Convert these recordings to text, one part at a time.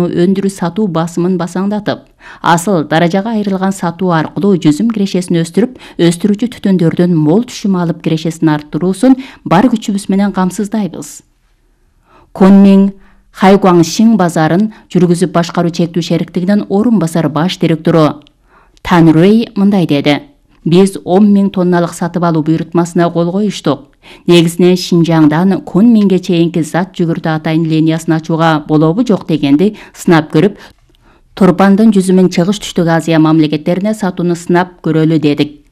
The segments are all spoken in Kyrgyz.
өндүрүү сатуу басымын басаңдатып, асыл даражага айрылган сатуу аркылуу жүзүм кирешесин өстүрүп, өстүрүүчү түтүндөрдөн мол түшүм алып кирешесин арттыруусун бар күчүбүз менен камсыздайбыз. Конмиң Хайгуаңшиң базарын жүргүзүп башкаруу чектүү шериктигинин орун басар баш директору Тан Рэй мындай деди: Биз 10 000 тонналык сатып алуу буйрутмасына кол коюштук. Негизинен Шинжаңдан Конмиңге чейинки зат жүгүртүү атайын линиясын ачууга болобу жок дегенди сынап көрүп, Турпандын жүзүмүн Чыгыш Түштүк Азия мамлекеттерине сатууну сынап көрөлү дедик.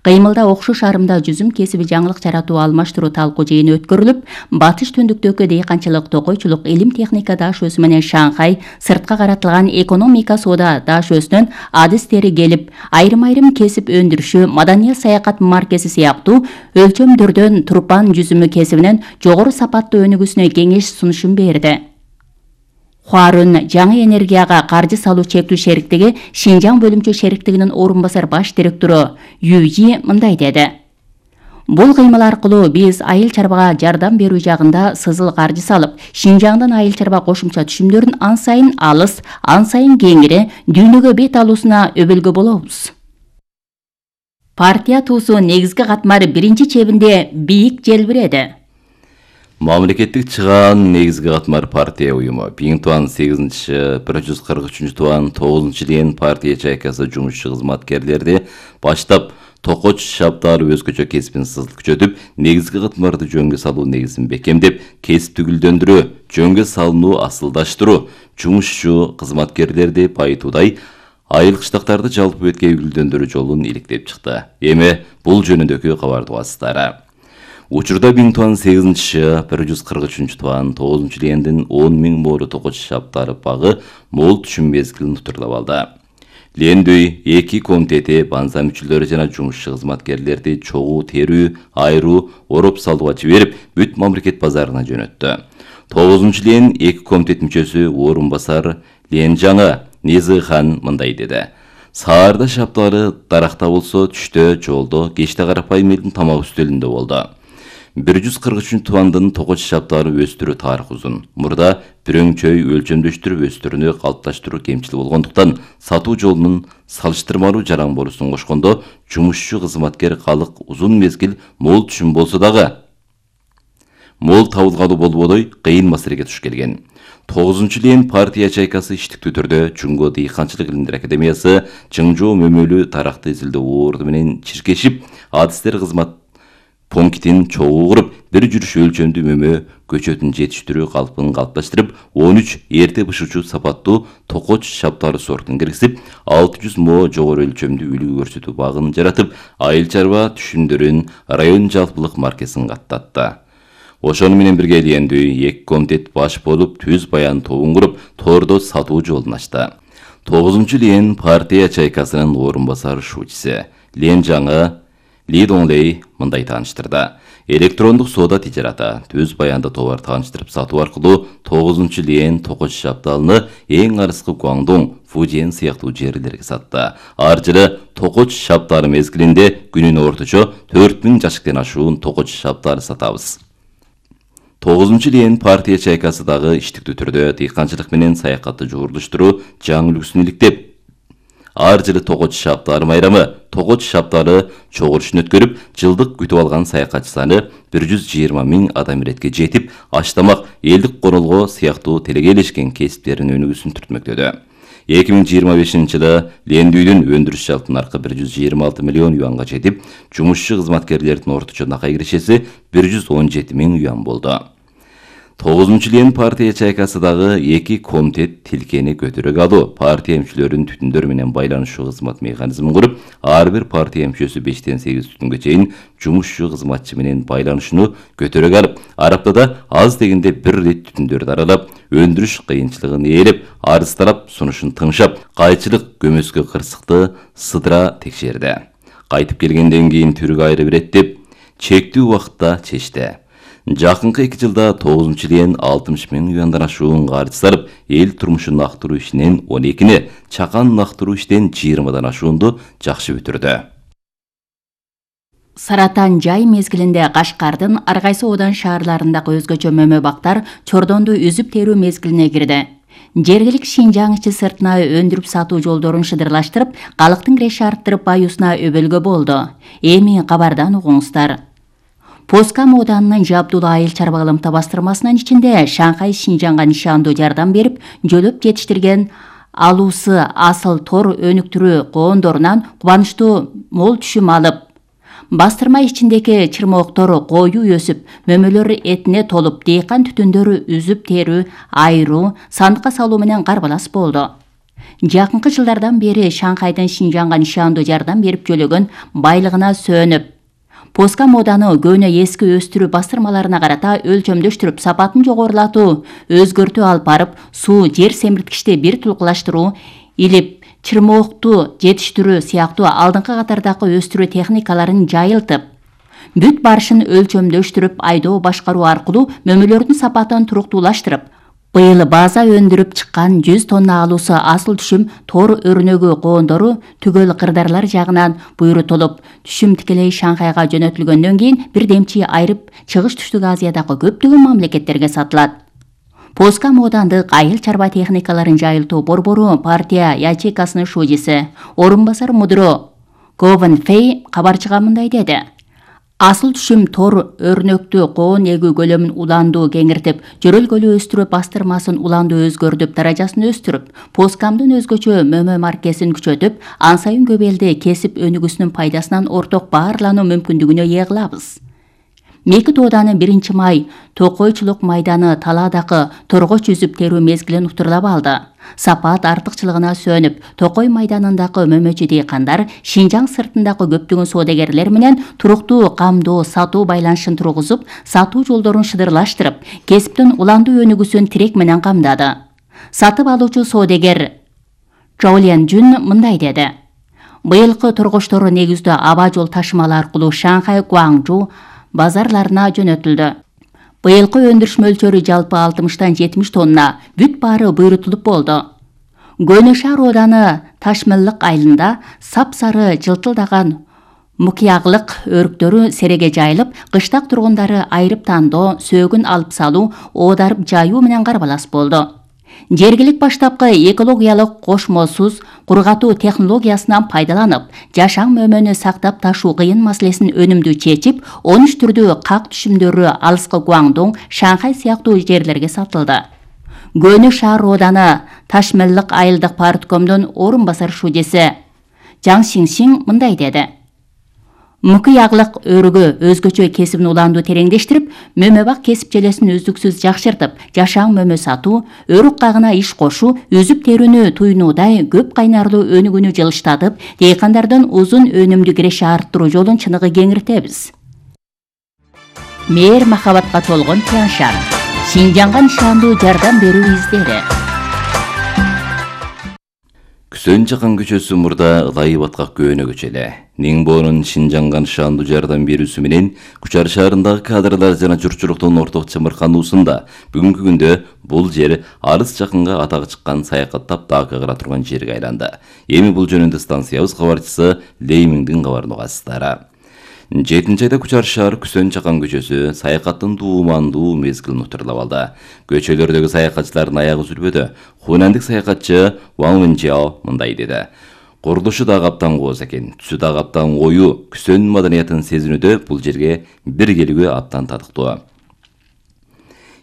Кыймылда окшош арымда жүзүм кесиби жаңылык жаратуу алмаштыруу талкуу жыйыны өткөрүлүп, батыш түндүктөгү дыйканчылык, токойчулук, илим техника дашөөсү менен Шанхай сыртка каратылган экономика соода дашөөсүнөн адистери келип, айрым кесип өндүрүшү, маданият саякат маркеси сыяктуу өлчөмдөрдөн Турпан жүзүмү кесибинен жогору сапаттуу өнүгүүсүнө кеңеш сунушун берди. Хуарун жаңы энергияга каржы салуу чектүү шериктиги Шинжаң бөлүмчө шериктигинин орун басар баш директору Юйи мындай деди: Бул кыймыл аркылуу биз айыл чарбага жардам берүү жагында сызыл каржы салып, Шинжаңдан айыл чарба кошумча түшүмдөрүн ан сайын алыс, ан сайын кеңири дүйнөгө бет алуусуна өбөлгө болобуз. Партия туусу негизги катмар биринчи чебинде бийик желбиреди. Мамлекеттик чыгаан негизги катмар партия уюму 143-тубан 9-жыл партия чайкасы жумушчу кызматкерлерди баштап токоч шаптары өзгөчө кесибин сызыл күчөтүп, негизги катмарды жөнгө салуу негизин бекемдеп, кесипти гүлдөндүрүү, жөнгө салынуу асылдаштыруу, жумушчу кызматкерлерди байытуудай айыл кыштактарды жалпы бетке гүлдөндүрүү жолун иликтеп чыкты. Эми бул жөнүндөгү кабарды угасыздар. Учурда 143-тубан 9-жыл 10 000 моору токоч шаптары багы мол түшүм мезгилин утурлап алды. Лендүй 2 комитети банза мүчөлөрү жана жумушчу кызматкерлерди чогуу терүү, айруу, ороп салууга жиберип, бүт мамлекет базарына жөнөттү. 9-жыл 2 комитет мүчөсү орун басар Ленжаңы Низыхан мындай деди: Саарда шаптары даракта болсо, түштө, жолдо, кечте карапайым элдин тамак үстөлүндө болду. 143-тубандын токоч шаптары өстүрүү тарыхы узун. Мурда бирөңчөй өлчөмдөштүрүп өстүрүүнү калыпташтыруу кемчил болгондуктан сатуу жолунун салыштырмалуу жаран болуусун кошкондо жумушчу кызматкер калык узун мезгил мол түшүм болсо дагы мол табылгалуу болбодой кыйын маселеге туш келген. 9-жыл партия чайкасы иштиктүү түрдө Жунго дыйканчылык илимдер академиясы Чыңжоо мөмөлүү таракты изилдөө орду менен чиркешип, адистер кызмат пунктин чогуу куруп, бир жүрүш өлчөмдүү мөмө көчөтүн жетиштирүү калпын калыпташтырып, 13 эрте бышуучу сапаттуу токоч шаптары сортун киргизип, 600 мо жогору өлчөмдүү үлгү көрсөтүү багын жаратып, айыл чарба түшүмдөрүн район жалпылык маркесин каттатты. Ошону менен бирге Лендүй 2 комитет баш болуп, түз баян тобун куруп, тордо сатуу жолун ачты. 9-жыл партия чайкасынын орун басар шуучусу Ленжаңы Ли Донлей мындай тааныштырды: электрондук соода тижараты, түз баянда товар тааныштырып сатуу аркылуу 9-жыл токоч шапталыны эң арыскы Гуаңдоң, Фужиен сыяктуу жерлерге сатты. Ар жылы токоч шаптары мезгилинде күнүнө орточо 4000 жашыктан ашуун токоч шаптары сатабыз. 9-жыл партия чайкасы дагы иштиктүү түрдө дыйканчылык менен саякатты жогорулуштуруу жаңы үлгүсүн иликтеп, ар жылы токоч шаптары майрамы, токоч шаптары чогулушун өткөрүп, жылдык күтүп алган саякатчы саны 120 000 адам иретке жетип, аштамак, элдик королго сыяктуу телегейлешкен кесиптерин өнүгүүсүн түртмөктөдү. 2025-жылы Лендүйдүн өндүрүш жалпы наркы 126 миллион юанга жетип, жумушчу кызматкерлердин орточо накай кирешеси 117 000 юан болду. 9-жыл партия чайкасы дагы 2 комитет тилкени көтөрөк алуу, партия мүчөлөрүнүн түтүндөр менен байланышуу кызмат механизмин куруп, ар бир партия мүчөсү 5-тен 8 түтүнгө чейин жумушчу кызматчы менен байланышууну көтөрөк алып, ар аптада аз дегенде бир рет түтүндөрдү аралап, өндүрүш кыйынчылыгын ээлеп, арыз тарап сунушун тыңшап, кайчылык көмөскө кырсыкты сыдыра текшерди. Кайтып келгенден кийин түргө айрып берет деп чектүү убакытта чечти. Жакынкы 2 жылда 9-жыл 60 000 юандан ашуун каржы сарып, эл турмушун актыруу ишинен 12-ни, чакан актыруу иштен 20дан ашуунду жакшы бүтүрдү. Саратан жай мезгилинде Кашкардын ар кайсы одан шаарларындагы өзгөчө мөмө бактар чордонду үзүп терүү мезгилине кирди. Жергилик Шинжаң ичи сыртына өндүрүп сатуу жолдорун шыдырлаштырып, калктын киреши арттырып баюусуна өбөлгө болду. Эми кабардан угуңуздар. Поска мооданынын жабдуулуу айыл чарбалымта бастырмасынын ичинде Шанхай Шинжаңга нишандуу жардам берип, жөлөп жетиштирген алуусу асыл тор өнүктүрүү коондорунан кубанычтуу мол түшүм алып, бастырма ичиндеги чырмооктор коюу өсүп, мөмөлөр этине толуп, дейкан түтүндөрү үзүп терүү, айыруу, сандыкка салуу менен карбалас болду. Жакынкы жылдардан бери Шанхайдын Шинжаңга нишандуу жардам берип жөлөгөн байлыгына сөөнүп, Поска мооданы көөнө эски өстүрүү бастырмаларына карата өлчөмдөштүрүп, сапатын жогорулатуу, өзгөртүү алып барып, суу, жер семирткичти бир тулкулаштыруу, илип, чырмоокту жетиштирүү сыяктуу алдыңкы катардагы өстүрүү техникаларын жайылтып, бүт барышын өлчөмдөштүрүп, айдоо башкаруу аркылуу мөмөлөрдүн сапатын туруктуулаштырып, быйыл база өндүрүп чыккан 100 тонна алуусу асыл түшүм тор өрнөгү коондору түгөл кырдаарлар жагынан буйрутулуп, түшүм тикелей Шанхайга жөнөтүлгөндөн кийин бир демчи айрып Чыгыш Түштүк Азиядагы көптөгөн мамлекеттерге сатылат. Поска моодандык айыл чарба техникаларын жайылтуу борбору партия ячейкасынын шужиси, орун басар мудро Говен Фей кабарчыга мындай деди. Асыл түшүм тор өрнөктүү коон эгүү көлөмүн уландуу кеңиртип, жөрөлгөлүү өстүрүү бастырмасын уландуу өзгөртүп, даражасын өстүрүп, Поскамдын өзгөчө мөмө маркесин күчөтүп, ан сайын көп элди кесип өнүгүүсүнүн пайдасынан орток баарлануу мүмкүндүгүнө ээ кылабыз. Меки тооданын 1-май токойчулук майданы талаадагы торгоч үзүп терүү мезгилин уктурлап алды. Сапат артыкчылыгына сөөнүп, Токой майданындагы мөмөчү дейкандар Шинжаң сыртындагы көптөгөн соодагерлер менен туруктуу камдоо сатуу байланышын тургузуп, сатуу жолдорун шыдырлаштырып, кесиптин уландуу өнүгүүсүн тирек менен камдады. Сатып алуучу соодагер Чоулен Жун мындай деди. Быйылкы торгочтор негиздүү аба жол ташымалы аркылуу Шанхай, Гуаңжу базарларына жөнөтүлдү. Быйылкы өндүрүш мөлчөрү жалпы 60-70 тонна, бүт баары буйрутулуп болду. Көөнө шаар ооданы Ташмеллык айылында сап-сары жылтылдаган мукияглык өрүктөрү сереге жайылып, кыштак тургундары айрып тандоо, сөөгүн алып салуу, оодарып жайуу менен карбалас болду. Жергилик баштапкы экологиялык кошмосуз кургатуу технологиясынан пайдаланып, жашаң мөмөнү сактап ташуу кыйын маселесин өнүмдүү чечип, 13 түрдүү как түшүмдөрү алыскы Гуаңдоң, Шанхай сыяктуу жерлерге сатылды. Көөнө шаар ооданы Ташмеллык айылдык парткомдун орун басар шужиси Жаң Сиңсиң мындай деди. Мукияглык өрүгү өзгөчө кесибин уландуу тереңдештирип, мөмө бак кесип желесин үздүксүз жакшыртып, жашаң мөмө сатуу, өрүк кагына иш кошуу, үзүп терүүнү туйнуудай көп кайнарлуу өнүгүүнү жылыштатып, дейкандардын узун өнүмдүү киреше арттыруу жолун чыныгы кеңиртебиз. Мээр махабатка толгон Тяншан. Шинжаңга нишандуу жардам берүү издери. Күсөн Чакан көчөсү мурда ылайы баткак көөнө көчөлө. Ниңбоонун Шинжаңга нишандуу жардам берүүсү менен Кучар шаарындагы кадрлар жана журтчулуктун орток чымыркануусунда бүгүнкү күндө бул жер арыз жакынга атагы чыккан саякаттап дагы кыра турган жерге айланды. Эми бул жөнүндө станциябыз кабарчысы Леймиңдин кабарын угасыздар. 7-айда Кучар шаар Күсөн Чакан көчөсү саякаттын туумандуу мезгилин утурлап алды. Көчөлөрдөгү саякатчылардын аягы үзүлбөдү. Хунандык саякатчы Ван Вэнжао мындай деди. Курулушу дагы аптан кооз экен, түсү дагы аптан кою, Күсөн маданиятын сезинүүдө бул жерге бир келүүгө аптан татыктуу.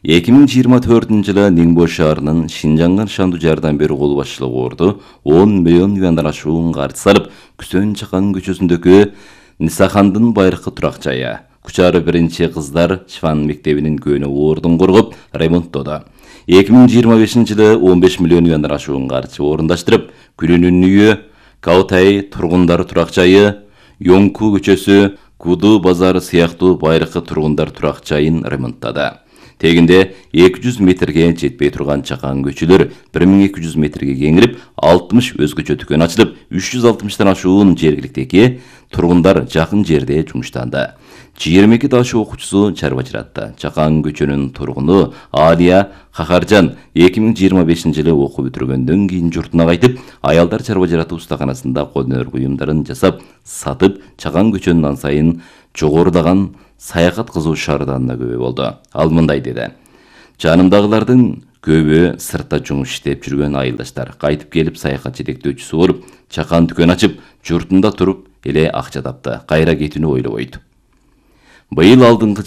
2024-жылы Ниңбо шаарынын Шинжаңга нишандуу жардам берүү кол башчылыгы орду 10 миллион юандан ашуун каржы салып, Күсөн Чакан көчөсүндөгү Нисахандын байыркы турак жайы, Кучар 1-кыздар Шван мектебинин көөнө ордун коргоп, ремонттоду. 2025-жылы 15 миллион юандан ашуун каржы орундаштырып, Күрүнүн үйү, Каутай тургундар турак жайы, Йоңку көчөсү, Куду базары сыяктуу байыркы тургундар турак жайын ремонттады. Тегинде 200 метрге жетпей турган Чакан көчөлөр 1200 метрге кеңирип, 60 өзгөчө дүкөн ачылып, 360тан ашуун жергиликтеги тургундар жакын жерде жумуштанды. 22 дашы окуучусу чарба жыратты. Чакан көчөнүн тургуну Алия Хахаржан 2025-жылы окуу бүтүргөндөн кийин журтуна кайтып, аялдар чарба жыратуу устаканасында кол өнөр буюмдарын жасап, сатып, Чакан көчөнүн ан сайын жогорудаган саякат кызуу шаарданына көбөй болду. Ал мындай деди. Жанымдагылардын көбү сыртта жумуш иштеп жүргөн айылдаштар. Кайтып келип саякат жетектөөчүсү болуп, чакан дүкөн ачып, журтунда туруп эле акча тапты. Кайра кетүүнү ойлобойт. Быйыл алдыңкы